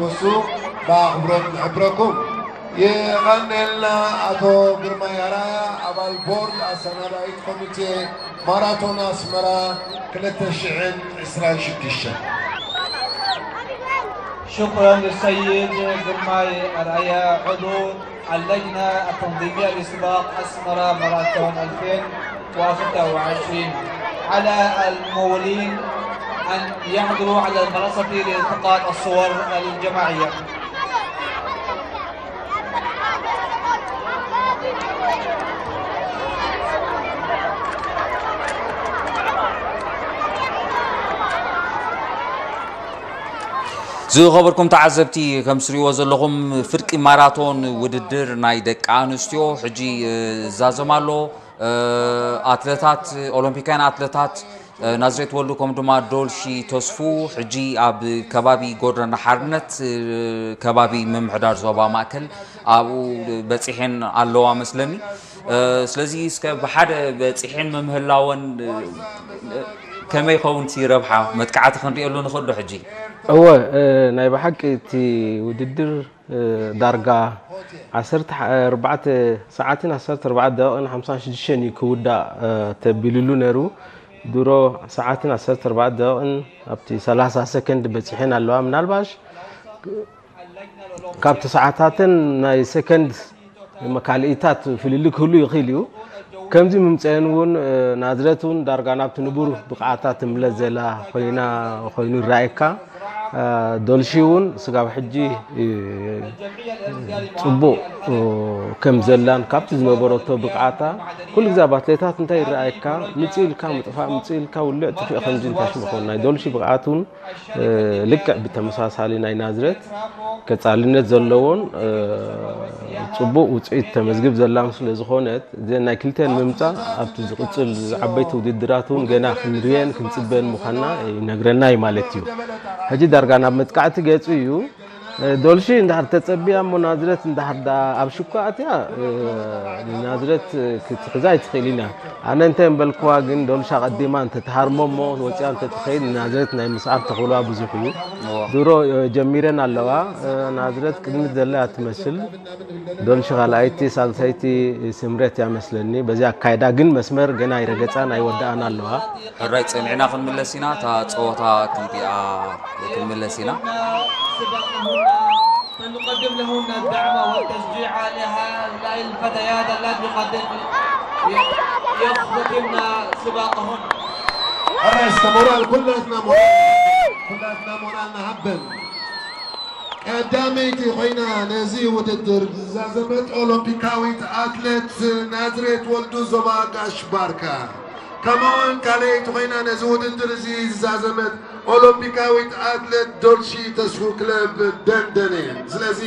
እሱ ብኣኽብሮት ንሕብረኩም። የቐንየልና ኣቶ ግርማይ ኣርኣያ፣ ኣባል ቦርድ ኣሰናዳኢት ኮሚቴ ማራቶን ኣስመራ ክልተ ሽሕን ዕስራን ሽዱሽተን። شكرا للسيد جرماي أرعيا عضو اللجنة التنظيمية لسباق أسمرة ماراثون ألفين وستة وعشرين. على الممولين أن يحضروا على المنصة لالتقاط الصور الجماعية. ዝኸበርኩም ተዓዘብቲ፣ ከም ትሪእዎ ዘለኹም ፍርቂ ማራቶን ውድድር ናይ ደቂ ኣንስትዮ ሕጂ ይዛዘም ኣሎ። ኣትለታት፣ ኦሎምፒካውያን ኣትለታት ናዝሬት ወልዱ ከምኡ ድማ ዶልሺ ተስፉ ሕጂ ኣብ ከባቢ ጎደና ሓርነት፣ ከባቢ ምምሕዳር ዞባ ማእከል ኣብኡ በፂሐን ኣለዋ መስለኒ። ስለዚ እስከ ብሓደ በፂሐን ምምህላወን ከመይ ይኸውን እቲ ረብሓ መጥቃዕቲ ክንሪኤሉ ንኽእል ዶ ሕጂ? እወ፣ ናይ ብሓቂ እቲ ውድድር ዳርጋ ዓሰርተ ኣርባዕተ ሰዓትን ዓሰርተ ኣርባዕተ ደቂቕን ሓምሳን ሽዱሽተን እዩ ክውዳእ ተቢልሉ ነይሩ። ድሮ ሰዓትን ዓሰርተ ኣርባዕተ ደቂቕን ኣብቲ ሰላሳ ሰከንድ በፂሐን ኣለዋ። ምናልባሽ ካብቲ ሰዓታተን ናይ ሰከንድ ካልኢታት ፍልልይ ክህሉ ይኽእል እዩ። ከምዚ ምምፀአን እውን ናዝረት እውን ዳርጋ ናብቲ ንቡር ብቕዓታ ትምለስ ዘላ ኮይና ኮይኑ ይረኣየካ። ዶልሺ እውን ስጋብ ሕጂ ፅቡቕ ከም ዘላን ካብቲ ዝነበረቶ ብቕዓታ ኩሉ ግዜ ኣብ ኣትሌታት እንታይ ይረኣየካ ምፅእ ኢልካ ምጥፋእ ምፅእ ኢልካ ውልዕ ጥፍእ ከምዚ እንታይ ሽም ይኸውን ናይ ዶልሺ ብቕዓት እውን ልክዕ ብተመሳሳሊ ናይ ናዝረት ቀፃልነት ዘለዎን ፅቡቕ ውፅኢት ተመዝግብ ዘላን ስለ ዝኾነት እዘን ናይ ክልተን ምምፃእ ኣብቲ ዝቕፅል ዓበይቲ ውድድራት እውን ገና ክንሪኤን ክንፅበን ምዃንና ይነግረና እዩ ማለት እዩ። ሕጂ ዳርጋ ናብ መጥቃዕቲ ገፁ እዩ። ዶልሺ እንድሕር ተፀቢያ እሞ ናዝረት እንድሕር ደኣ ኣብ ሽኳ ኣትያ ናዝረት ክትሕዛ ኣይትኽእልን እያ። ኣነ እንታይ እምበልክዋ ግን ዶልሻ ቀዲማ እንተትሃርሞ እሞ ወፂኣ እንተትኸይድ ናዝሬት ናይ ምስዓር ተኽእሎኣ ብዙሕ እዩ። ድሮ ጀሚረን ኣለዋ። ናዝሬት ቅድሚት ዘላ እያ ትመስል። ዶልሺ ካልኣይቲ ሳልሰይቲ ስምረት እያ መስለኒ። በዚ ኣካይዳ ግን መስመር ገና ኣይረገፃን ኣይወደኣን ኣለዋ። ሕራይ ፀኒዕና ክንምለስ ኢና። እታ ፀወታ ክንሪኣ ክንምለስ ኢና። فلنقدم لهن الدعم والتشجيع لهؤلاء الفتيات اللاتي قد يختتمن سباقهن. ሕራይ እስከ ሞራል ኩላትና ሞራል ኩላትና ሞራል ንሃበን። ቀዳመይቲ ኮይና ነዚ ውድድር ዝዛዘመት ኦሎምፒካዊት ኣትሌት ናዝሬት ወልዱ ዞባ ጋሽ ባርካ ከምኡውን ካልኣይቲ ኮይና ነዚ ውድድር እዚ ዝዛዘመት ኦሎምፒካዊት ኣትሌት ዶልሺ ተስፉ ክለብ ደንደን እየን። ስለዚ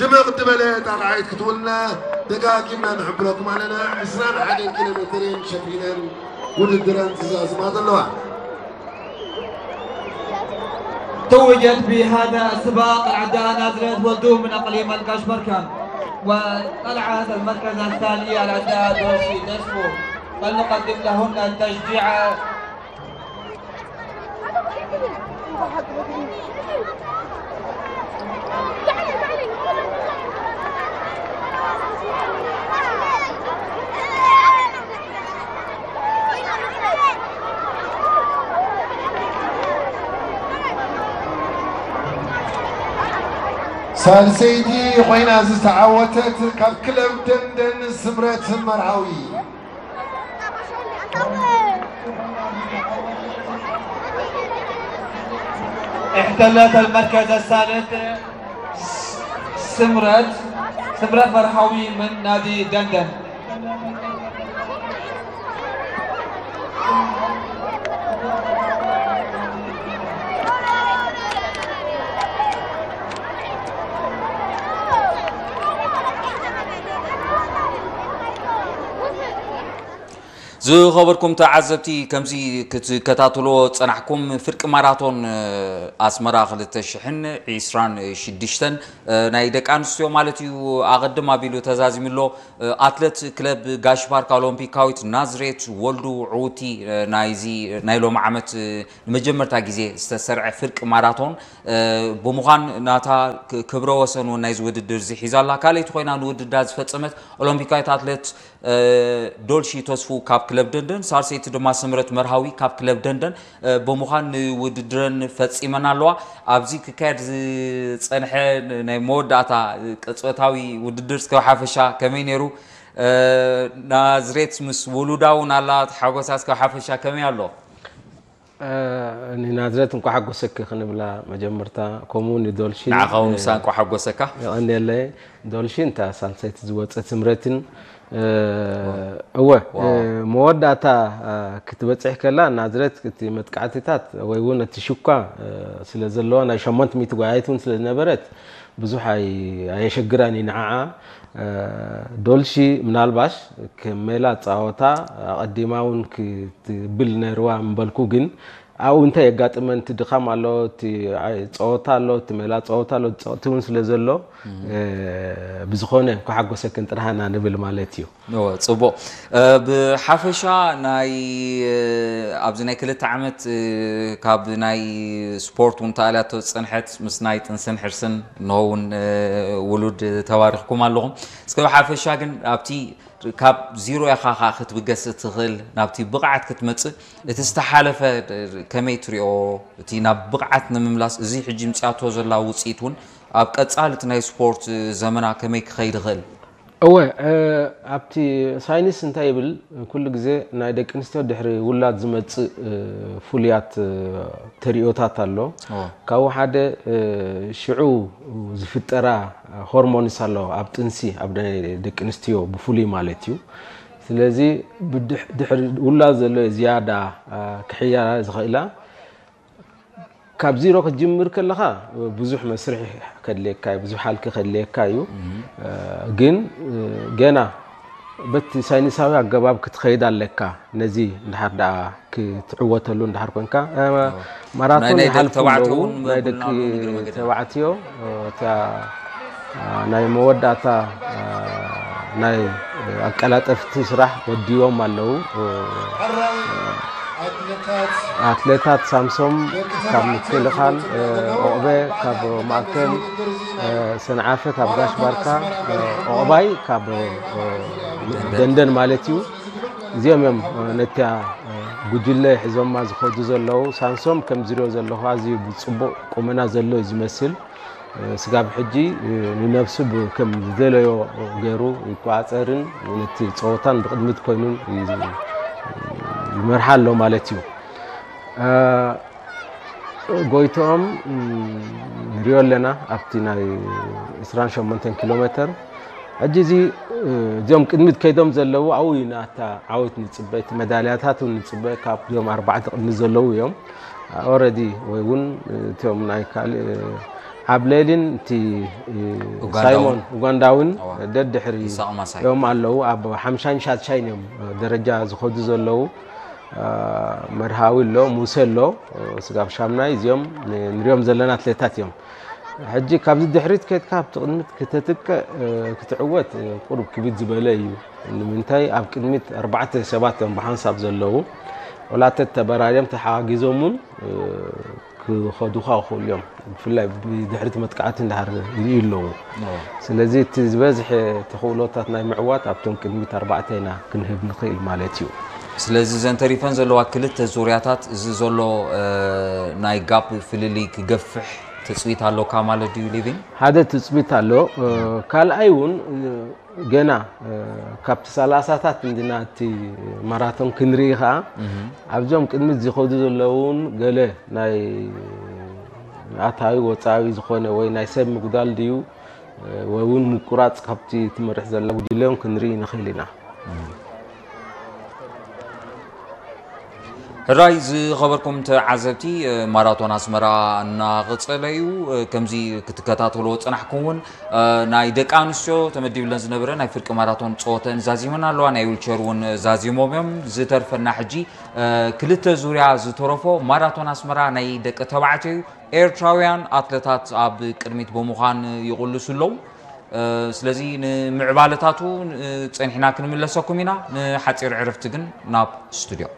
ድምቕ ዝበለ ጣቕዓት ክትውልና ደጋጊምና ንሕብረኩም ኣለና። ዕስራን ሓደን ኪሎ ሜትር እየን ሸፊነን ውድድረን ዝዛዝማ ዘለዋ። توجت بهذا السباق العداء نازلة ولدوم من أقليم الكشمركان، وطلعت المركز الثاني العداء دولشي دسبو. فلنقدم لهن التشجيع. ሳልሰይቲ ኮይና ዝተዓወተት ካብ ክለብ ደንደን ስምረት መርሃዊ። احتلت المركز الثالث سمرت سمرت مرحوي من نادي دندن. ዝኸበርኩም ተዓዘብቲ፣ ከምዚ ክትከታተልዎ ዝጸናሕኩም፣ ፍርቂ ማራቶን ኣስመራ ክልተ ሽሕን ዕስራን ሽዱሽተን ናይ ደቂ ኣንስትዮ ማለት እዩ፣ ኣቐድም ኣቢሉ ተዛዚሙ ኣሎ። ኣትለት ክለብ ጋሽ ባርካ ኦሎምፒካዊት ናዝሬት ወልዱ ዕውቲ ናይዚ ናይ ሎሚ ዓመት ንመጀመርታ ግዜ ዝተሰርዐ ፍርቂ ማራቶን ብምዃን ናታ ክብረ ወሰን እውን ናይዚ ውድድር እዚ ሒዛ ኣላ። ካልኣይቲ ኮይና ንውድድራ ዝፈጸመት ኦሎምፒካዊት ኣትለት ዶልሺ ተስፉ ካብ ክለብ ደንደን፣ ሳልሰይቲ ድማ ስምረት መርሃዊ ካብ ክለብ ደንደን ብምዃን ንውድድረን ፈጺመን ኣለዋ። ኣብዚ ክካየድ ዝጸንሐ ናይ መወዳእታ ቅጽበታዊ ውድድር እስከ ሓፈሻ ከመይ ነይሩ? ናዝሬት ምስ ውሉዳ እውን ኣላ፣ ሓጎሳ እስከ ሓፈሻ ከመይ ኣሎ? ንናዝሬት እንኳ ሓጎሰኪ ክንብላ መጀመርታ፣ ከምኡ ንዶልሺ ንዓኻ እውን ምሳ እንኳ ሓጎሰካ። የቐንየለይ። ዶልሺ እንታ ሳልሰይቲ ዝወፀት ስምረትን እወ መወዳእታ ክትበፅሕ ከላ ናዝሬት እቲ መጥቃዕትታት ወይ እውን እቲ ሽኳ ስለ ዘለዋ ናይ ሸሞንተ ሚእቲ ጓያይት እውን ስለ ዝነበረት ብዙሕ ኣይ- ኣየሸግራን እዩ ንዓዓ። ዶልሺ ምናልባሽ ከም ሜላ ፃወታ ኣቐዲማ እውን ክትብል ነይርዋ ምበልኩ፣ ግን ኣብኡ እንታይ የጋጥመን፣ እቲ ድኻም ኣሎ፣ እቲ ኣይ- ፀወታ ኣሎ፣ እቲ ሜላ ፀወታ ኣሎ፣ ፀቕቲ እውን ስለ ዘሎ ብዝኾነ እንኳ ሓጎሰክን ጥራህና ንብል ማለት እዩ። እወ፣ ጽቡቕ። ብሓፈሻ ናይ ኣብዚ ናይ ክልተ ዓመት ካብ ናይ ስፖርት እውን ተኣልያቶ ዝጸንሐት ምስ ናይ ጥንስን ሕርስን እንሆ እውን ውሉድ ተባሪኽኩም ኣለኹም። እስከ ብሓፈሻ ግን ኣብቲ ካብ ዚሮ ኢኻ ኸኣ ክትብገስ እትኽእል ናብቲ ብቕዓት ክትመጽእ እቲ ዝተሓለፈ ከመይ ትሪኦ? እቲ ናብ ብቕዓት ንምምላስ እዚ ሕጂ ምጽኣቶ ዘላ ውጽኢት እውን ኣብ ቀጻሊ እቲ ናይ ስፖርት ዘመና ከመይ ክኸይድ ይኽእል? እወ ኣብቲ ሳይንስ እንታይ ይብል፣ ኩሉ ግዜ ናይ ደቂ ኣንስትዮ ድሕሪ ውላድ ዝመፅእ ፍሉያት ተሪኦታት ኣሎ። ካብኡ ሓደ ሽዑ ዝፍጠራ ሆርሞንስ ኣለዋ ኣብ ጥንሲ፣ ኣብ ናይ ደቂ ኣንስትዮ ብፍሉይ ማለት እዩ። ስለዚ ድሕሪ ውላድ ዘሎ ዝያዳ ክሕያላ ዝኽእላ ካብ ዚሮ ክትጅምር ከለኻ ብዙሕ መስርሕ ከድልየካ እዩ፣ ብዙሕ ሃልኪ ከድልየካ እዩ። ግን ገና በቲ ሳይንሳዊ ኣገባብ ክትኸይድ ኣለካ። ነዚ እንድሓር ደኣ ክትዕወተሉ እንድሓር ኮንካ ማራቶን ይሓልፉ ኣለዉ ናይ ደቂ ተባዕትዮ እታ ናይ መወዳእታ ናይ ኣቀላጠፍቲ ስራሕ ወዲዎም ኣለዉ። ኣትሌታት ሳምሶም ካብ ምክልኻል፣ ኦቕበ ካብ ማእከል፣ ሰንዓፈ ካብ ጋሽ ባርካ፣ ኦቕባይ ካብ ደንደን ማለት እዩ። እዚኦም እዮም ነቲያ ጉጅለ ሒዞማ ዝኸዱ ዘለዉ። ሳምሶም ከም ዝሪኦ ዘለኹ ኣዝዩ ብፅቡቕ ቁመና ዘሎ እዩ ዝመስል። ስጋብ ሕጂ ንነብሱ ከም ዝደለዮ ገይሩ ይቆፃፀርን ነቲ ፀወታን ብቅድሚት ኮይኑን ይመርሓ ኣሎ ማለት እዩ። ጎይትኦም ንሪኦ ኣለና ኣብቲ ናይ ዕስራን ሸሞንተን ኪሎ ሜተር። ሕጂ እዚ እዚኦም ቅድሚት ከይዶም ዘለዉ ኣብኡ እዩ ናታ ዓወት ንፅበ፣ እቲ መዳልያታት እውን ንፅበ ካብዞም ኣርባዕተ ቅድሚት ዘለዉ እዮም። ኦረዲ ወይ እውን እቶም ናይ ካልእ ዓብሌልን እቲ ሳይሞን ኡጋንዳውን ደድሕሪ እዮም ኣለዉ። ኣብ ሓምሻይን ሻድሻይን እዮም ደረጃ ዝኸዱ ዘለዉ። መርሃዊ ኣሎ፣ ሙሴ ኣሎ፣ ስጋብ ሻምናይ እዚኦም ንሪኦም ዘለና ኣትሌታት እዮም። ሕጂ ካብዚ ድሕሪት ከድካ ኣብቲ ቅድሚት ክተትቅዕ ክትዕወት ቁሩብ ክብድ ዝበለ እዩ። ንምንታይ ኣብ ቅድሚት ኣርባዕተ ሰባት እዮም ብሓንሳብ ዘለዉ። ወላ ተተበራርዮም ተሓጋጊዞም እውን ክኸዱኻ ይኽእሉ እዮም። ብፍላይ ብድሕሪት መጥቃዕቲ እንዳሃር ይርእዩ ኣለዉ። ስለዚ እቲ ዝበዝሐ ተኽእሎታት ናይ ምዕዋት ኣብቶም ቅድሚት ኣርባዕተ ኢና ክንህብ ንኽእል ማለት እዩ። ስለዚ እዘን ተሪፈን ዘለዋ ክልተ ዙርያታት እዚ ዘሎ ናይ ጋፕ ፍልልይ ክገፍሕ ትፅቢት ኣለካ ማለት ድዩ ሊቪን? ሓደ ትፅቢት ኣሎ። ካልኣይ እውን ገና ካብቲ ሰላሳታት እንድና እቲ ማራቶን ክንርኢ ከዓ ኣብዞም ቅድሚት ዝኸዱ ዘለዉ እውን ገለ ናይ ኣታዊ ወፃዊ ዝኾነ ወይ ናይ ሰብ ምጉዳል ድዩ ወይ እውን ምቁራፅ ካብቲ ትመርሕ ዘላ ጉጅለ እውን ክንርኢ ንኽእል ኢና። ሕራይ ዝኸበርኩም ተዓዘብቲ፣ ማራቶን ኣስመራ እናቐጸለ እዩ። ከምዚ ክትከታተልዎ ዝጸናሕኩም እውን፣ ናይ ደቂ ኣንስትዮ ተመዲብለን ዝነበረ ናይ ፍርቂ ማራቶን ጸወተን ዛዚመን ኣለዋ። ናይ ዊልቸር እውን ዛዚሞም እዮም። ዝተርፈና ሕጂ ክልተ ዙርያ ዝተረፎ ማራቶን ኣስመራ ናይ ደቂ ተባዕትዮ እዩ። ኤርትራውያን ኣትለታት ኣብ ቅድሚት ብምዃን ይቕልሱ ኣለዉ። ስለዚ ንምዕባለታቱ ጸኒሕና ክንምለሰኩም ኢና። ንሓጺር ዕረፍቲ ግን ናብ ስቱድዮ።